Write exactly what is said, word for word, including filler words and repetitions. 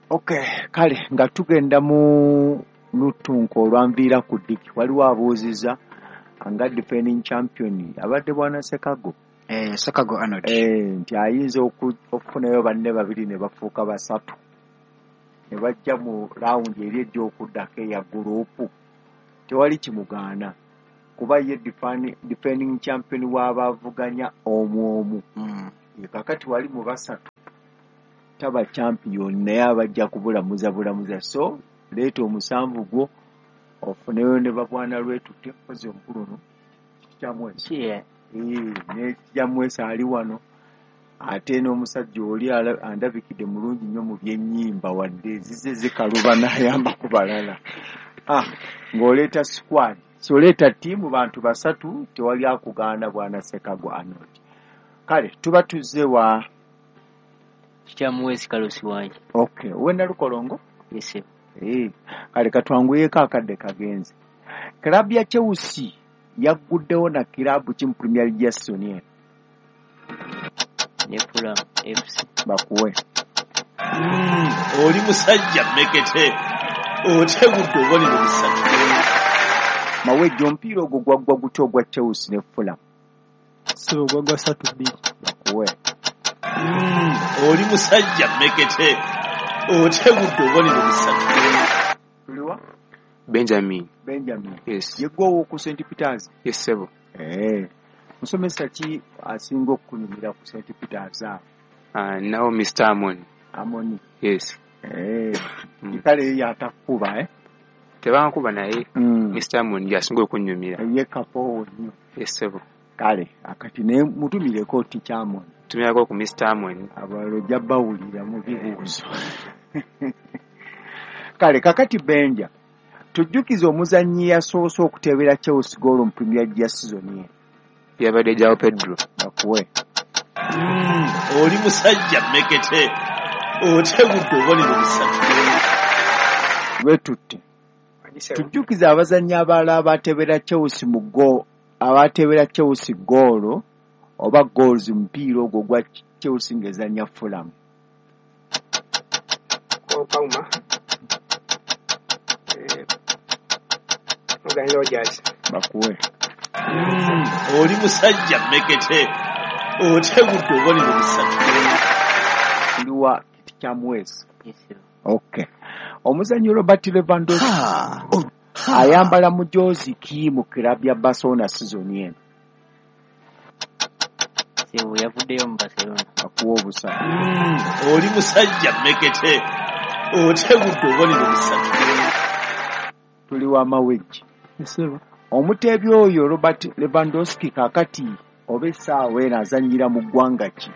Okay, kale nga tugenda mu lutunko olwanviira ku ddiki, waliwo abuuziza nga defending champion abadde bwana Sekago. Eh, Sekago Arnold. Eh, nti ayinza okufunayo banne babiri ne bafuuka basatu ne bajja mu round eri ejja okuddako eya gurupu. Tewali kimugaana kuba ye defending champion w'abavuganya omu omu. Mm. Kakati wali mu basatu taba champion, naye abajja kubulamuza bulamuza. So leeta omusanvu gwo ofuneyo ne babwana lwetutte mpozi omukulu no kikyamwesi Yeah. ne kikyamwesi ali wano, ate n'omusajja oli andabikidde mulungi nnyo mu byennyimba, wadde zize zikaluba n'ayamba ku balala. Ah, ng'oleeta squad, so oleeta ttiimu bantu basatu, tewali akugaana bwana Sekago Arnold. Kale tuba tuzze wa Kikyamuweesi Kalusi wange. Okay, owe Nalukolongo? Yes. Eh, kale katwanguyeko akadde kagenze. Club ya Chelsea yagguddewo na kiraabu ki mu Premier League ya season eno? Ne Fulham F C. Bakuwe. Mm, oli musajja mmekete otegudde obubonero busatu. Mawejje, omupiira ogwo gwaggwa gutya ogwa Chelsea ne Fulham? Ssebo gwaggwa ssatu bbiri. Bakuwe. Mm, oli musajja mmekete otegudde obubonero busatu. Tuliwa? Benjamin. Benjamin. Yes. Ye gwe ow'oku Saint Peters? Yes, ssebo. Eh. Musomesa ki asinga okukunyumira ku Saint Peters awo? Uh, nawo Mister Amon. Amoni. Yes. Eh. Mm. Kale ye atakukuba, eh? Tebankuba naye. Mm. Mister Amon y'asinga okunyumira. Ye kapoowo nnyo. Yes, ssebo. Kale, akati naye mutumireko Teacher Amon. Tumirako ku Mister Amon. Abalala ojja bawulira mu bibuuzo. Kale, kakati Benja, tujjukize omuzannyi yasoose okuteebera Chelsea goal mu Premier League ya season eno. Yabadde João Pedro. Bakuwe. Mm, oli musajja mmekete otegudde obubonero busatu. Lwetutte. Tujjukize abazannyi abalala abateebera Chelsea mu go abateebera Chelsea goal oba goals mu mupiira ogwo gwa Chelsea ng'ezannya Fulham. Cole Palmer. Eh, Morgan Rogers. Bakuwe. Mm, oli musajja mmekete otegudde obubonero busatu. Tuliwa kiti kya Mwesi. Yes, sir. Okay. Omuzannyi Robert Lewandowski ayambala mujoozi ki mu club ya Barcelona season eno? Ssebo yavuddeyo mu Barcelona. Akuwa obusatu. Mm, oli musajja mmekete otegudde obubonero busatu. Tuli wa Mawejje. Ssebo. Omuteebi oyo Robert Lewandowski kaakati oba essaawa eno azannyira mu ggwanga ki?